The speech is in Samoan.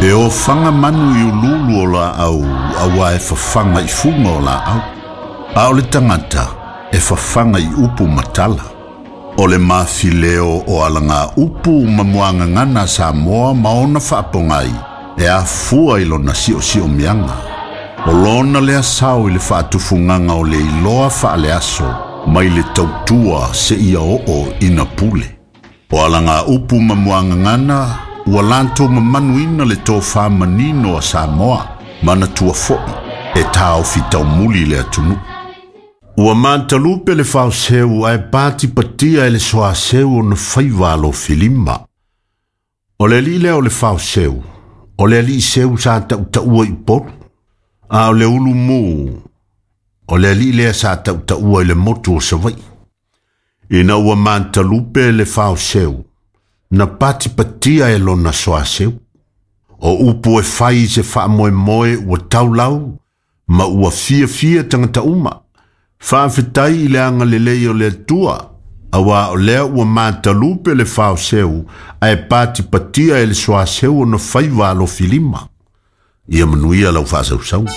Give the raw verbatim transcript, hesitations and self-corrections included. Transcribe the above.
E ofaga manu i uluulu o laau auā e fafaga i fuga o laau. A o le tagata e fafaga i upu ma tala. O le mafileo o alaga upu ma muagagana a Samoa ma ona faapogai e afua i lona siosiomiaga. O lona lea sao i le faatufugaga o le iloa faaleaso mai le tautua seia oo ina pule. O alaga upu ma muagagana ua latou mamanuina le tofā manino a Samoa manatua fo'i e taofi taumuli le atunuu. Ua matalupe le faoseu ae patipatia e le soaseu ona faiva alofilima. O le alii lea o le faoseu, o le alii seu sa tautaua i Upolu, a o le ulumu, o le alii lea sa tautaua i le motu o Savaii. Ina ua matalupe le faoseu, na patipatia e lona soaseu. O upu e fai i se faamoemoe ua taulau, ma ua fiafia tagata uma. Faafetai i le agalelei o le Atua, auā o lea ua matalupe le faoseu ae patipatia e le soaseu ona faiva alofilima. Ia manuia lau faasausauga.